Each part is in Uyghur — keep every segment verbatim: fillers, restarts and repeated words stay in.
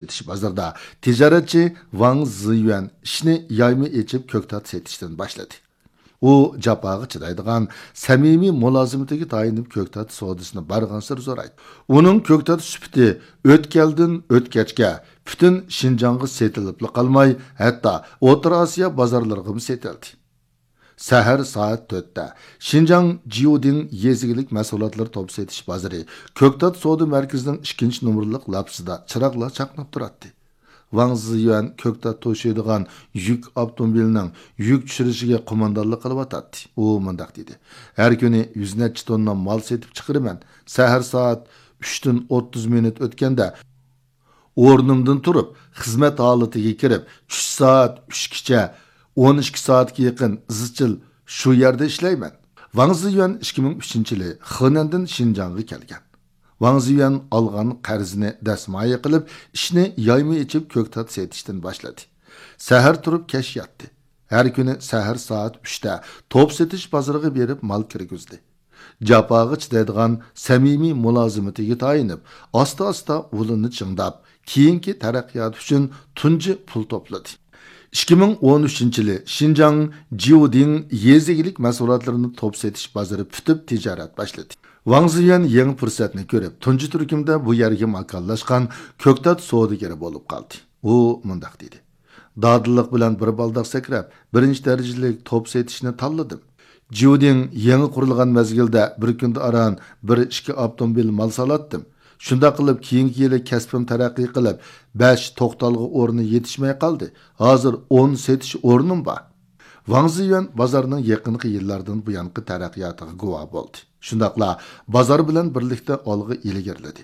سېتىش بازىرىدا تىجارەتچى ۋاڭ زىيۈەن ئىشنى يايما ئېچىپ كۆكتات سېتىشتىن باشلىدى. ئۇ جاپاغا چىدايدىغان، سەمىمىي مۇلازىمىتىگە تايىنىپ كۆكتات سودىسىنى بارغانسېرى زورايتتى. ئۇنىڭ كۆكتات سۈپىتى ئۆتكەلدىن ئۆتكەچكە پۈتۈن شىنجاڭغا سېتىلىپلا قالماي، ھەتتا ئوتتۇرا ئاسىيا بازارلىرىغىمۇ سېتىلدى. سەھەر سائەت تۆتتە شىنجاڭ جيۇدىڭ يېزا ئىگىلىك مەھسۇلاتلىرى توپ سېتىش بازىرى كۆكتات سودا مەركىزىنىڭ ئىككىنچى نومۇرلۇق لاپىسىدا چىراغلار چاقناپ تۇراتتى. ۋاڭ زىيۈەن كۆكتات توشۇيدىغان يۈك ئاپتوموبىلىنىڭ يۈك چۈشۈرۈشىگە قوماندانلىق قىلىۋاتاتتى. ئۇ مۇنداق دېدى: «ھەر كۈنى يۈز نەچچە توننا مال سېتىپ چىقىرىمەن. سەھەر سائەت ئۈچتىن ئوتتۇز مىنۇت ئۆتكەندە ئورنۇمدىن تۇرۇپ، خىزمەت ھالىتىگە كىرىپ، چۈش سائەت ئۈچكىچە، ئون ئىككى سائەتكە يېقىن ئىزچىل شۇ يەردە ئىشلەيمەن.» ۋاڭ زىيۈەن ئىككى مىڭ ئۈچىنچى يىلى خېنەندىن شىنجاڭغا كەلگەن. ۋاڭ زىيۈەن ئالغان قەرزىنى دەسمايە قىلىپ، ئىشنى يايما ئېچىپ كۆكتات سېتىشتىن باشلىدى. سەھەر تۇرۇپ كەچ ياتتى. ھەر كۈنى سەھەر سائەت ئۈچتە توپ سېتىش بازىرىغا بېرىپ مال كىرگۈزدى. جاپاغا چىدايدىغان سەمىمىي مۇلازىمىتىگە تايىنىپ، ئاستا-ئاستا ئۇلىنى چىڭداپ، كېيىنكى تەرەققىياتى ئۈچۈن تۇنجى پۇل توپلىدى. ئىككى مىڭ ئون ئۈچىنچى يىلى شىنجاڭ جيۇدىڭ يېزا ئىگىلىك مەھسۇلاتلىرىنى توپ سېتىش بازىرى پۈتۈپ تىجارەت باشلىدى. ۋاڭ زىيۈەن يېڭى پۇرسەتنى كۆرۈپ، تۇنجى تۈركۈمدە بۇ يەرگە ماكانلاشقان كۆكتات سودىگىرى بولۇپ قالدى. ئۇ مۇنداق دېدى: «دادىللىق بىلەن بىر بالداق سەكرەپ، بىرىنچى دەرىجىلىك توپ سېتىشنى تاللىدىم. جيۇدىڭ يېڭى قۇرۇلغان مەزگىلدە بىر كۈندە ئاران بىر ئىككى ئاپتوموبىل مال سالاتتىم. شۇنداق قىلىپ، كېيىنكى يىلى كەسپىم تەرەققىي قىلىپ، بەش توختالغۇ ئورنى يېتىشمەي قالدى. ھازىر ئون سېتىش ئورنۇم بار.» ۋاڭ زىيۈەن بازارنىڭ يېقىنقى يىللاردىن بۇيانقى تەرەققىياتىغا گۇۋاھ بولدى. شۇنداقلا بازار بىلەن بىرلىكتە ئالغا ئىلگىرىلىدى.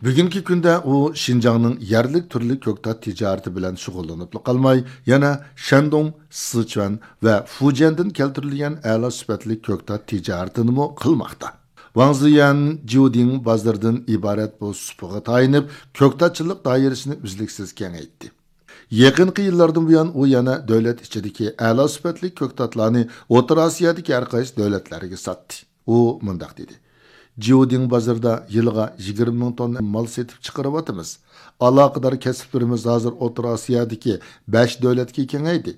بۈگۈنكى كۈندە ئۇ شىنجاڭنىڭ يەرلىك تۈرلۈك كۆكتات تىجارىتى بىلەن شۇغۇللىنىپلا قالماي، يەنە شەندۇڭ، سىچۈەن ۋە فۇجيەندىن كەلتۈرۈلگەن ئەلا سۈپەتلىك كۆكتات تىجارىتىنىمۇ قىلماقتا. ۋاڭ زىيۈەن جيۇدىڭ بازىرىدىن ئىبارەت بۇ سۇپىغا تايىنىپ، كۆكتاتچىلىق دائىرىسىنى ئۈزلۈكسىز كېڭەيتتى. يېقىنقى يىللاردىن بۇيان ئۇ يەنە دۆلەت ئىچىدىكى ئەلا سۈپەتلىك كۆكتاتلارنى ئوتتۇرا ئاسىيادىكى ھەرقايسى دۆلەتلەرگە ساتتى. ئۇ مۇنداق دېدى: «جيۇدىڭ بازىرىدا يىلىغا يىگىرمە مىڭ توننا مال سېتىپ چىقىرىۋاتىمىز. ئالاقىدار كەسىپلىرىمىز ھازىر ئوتتۇرا ئاسىيادىكى بەش دۆلەتكە كېڭەيدى.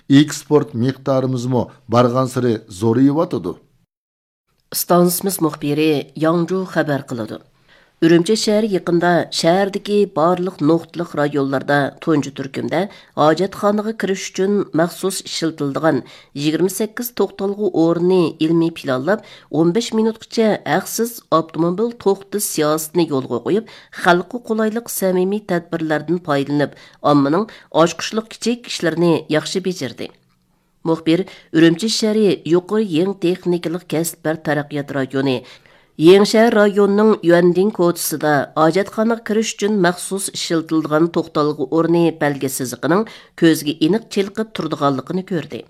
ئېكسپورت مىقدارىمىزمۇ بارغانسېرى زورىيىۋاتىدۇ.» ئىستانسىمىز مۇخبىرى ياڭجۇ خەۋەر قىلىدۇ. ئۈرۈمچى شەھىرى يېقىندا شەھەردىكى بارلىق نۇقتىلىق رايونلاردا تۇنجى تۈركۈمدە ھاجەتخانىغا كىرىش ئۈچۈن مەخسۇس ئىشلىتىلىدىغان يىگىرمە سەككىز توختالغۇ ئورنىنى ئىلمىي پىلانلاپ، ئون بەش مىنۇتقىچە ھەقسىز ئاپتوموبىل توختىتىش سىياسىتىنى يولغا قويۇپ، خەلققە قولايلىق سەمىمىي تەدبىرلەردىن پايدىلىنىپ، ئاممىنىڭ ئاچقۇچلۇق كىچىك ئىشلىرىنى ياخشى بېجىردى. مۇخبىر ئۈرۈمچى شەھىرى يۇقىرى يېڭى تېخنىكىلىق كەسىپلەر تەرەققىيات رايونى، يېڭىشەھەر رايونىنىڭ يۈەندىڭ كوچىسىدا ھاجەتخانىغا كىرىش ئۈچۈن مەخسۇس ئىشلىتىلىدىغان توختالغۇ ئورنى بەلگە سىزىقىنىڭ كۆزگە ئېنىق چېلىقىپ تۇرىدىغانلىقىنى كۆردى.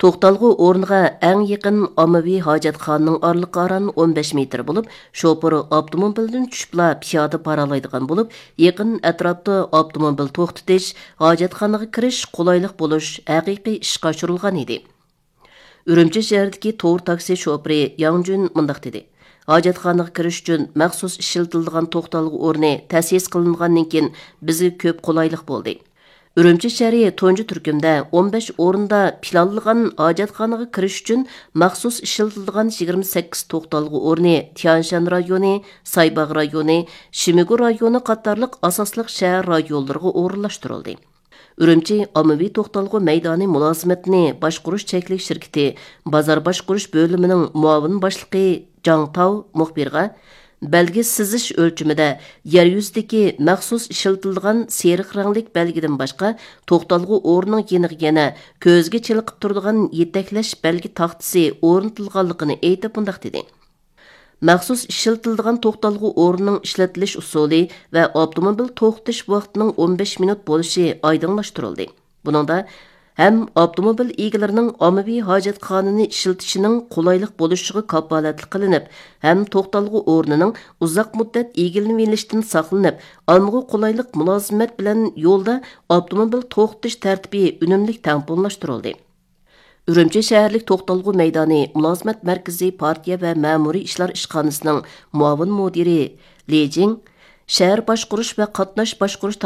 توختالغۇ ئورنىغا ئەڭ يېقىن ئاممىۋى ھاجەتخانىنىڭ ئارىلىقى ئاران ئون بەش مېتىر بولۇپ، شوپۇر ئاپتوموبىلدىن چۈشۈپلا پىيادە بارالايدىغان بولۇپ، يېقىن ئەتراپتا ئاپتوموبىل توختىتىش، ھاجەتخانىغا كىرىش قولايلىق بولۇش ھەقىقىي ئىشقا ئاشۇرۇلغان ئىدى. ئۈرۈمچى شەھىرىدىكى تور تاكسى شوپۇرى ياڭ جۈن مۇنداق دېدى: «ھاجەتخانىغا كىرىش ئۈچۈن مەخسۇس ئىشلىتىلىدىغان توختالغۇ ئورنى تەسىس قىلىنغاندىن كېيىن، بىزگە كۆپ قولايلىق بولدى. ئۈرۈمچى شەھىرى تۇنجى تۈركۈمدە ئون بەش ئورۇندا پىلانلىغان ھاجەتخانىغا كىرىش ئۈچۈن مەخسۇس ئىشلىتىلىدىغان يىگىرمە سەككىز توختالغۇ ئورنى تيەنشەن رايونى، سايباغ رايونى، شىمىگۇ رايونى قاتارلىق ئاساسلىق شەھەر رايونلىرىغا ئورۇنلاشتۇرۇلدى.» ئۈرۈمچى ئاممىۋى توختالغۇ مەيدانى مۇلازىمەتنى باشقۇرۇش چەكلىك شىركىتى بازار باشقۇرۇش بۆلۈمىنىڭ مۇئاۋىن باشلىقى جاڭ تاۋ مۇخبىرغا، بەلگە سىزىش ئۆلچىمىدە يەر يۈزىدىكى مەخسۇس ئىشلىتىلىدىغان سېرىق رەڭلىك بەلگىدىن باشقا، توختالغۇ ئورنىنىڭ يېنىغا يەنە كۆزگە چېلىقىپ تۇرىدىغان يېتەكلەش بەلگە تاختىسى ئورنىتىلغانلىقىنى ئېيتىپ، مۇنداق دېدى: «مەخسۇس ئىشلىتىلىدىغان توختالغۇ ئورنىنىڭ ئىشلىتىلىش ئۇسۇلى ۋە ئاپتوموبىل توختىتىش ۋاقتىنىڭ ئون بەش مىنۇت بولۇشى ئايدىڭلاشتۇرۇلدى. بۇنىڭدا ھەم ئاپتوموبىل ئىگىلىرىنىڭ ئاممىۋى ھاجەتخانىنى ئىشلىتىشىنىڭ قولايلىق بولۇشىغا كاپالەتلىك قىلىنىپ، ھەم توختالغۇ ئورنىنىڭ ئۇزاق مۇددەت ئىگىلىنىۋېلىشتىن ساقلىنىپ، ئاممىغا قولايلىق مۇلازىمەت بىلەن يولدا ئاپتوموبىل توختىتىش تەرتىپى ئۈنۈملۈك تەڭپۇڭلاشتۇرۇلدى.» ئۈرۈمچى شەھەرلىك توختالغۇ مەيدانى مۇلازىمەت مەركىزى پارتىيە ۋە مەمۇرىي ئىشلار ئىشخانىسىنىڭ مۇئاۋىن مۇدىرى لى جىڭ شەھەر باشقۇرۇش ۋە قاتناش باشقۇرۇش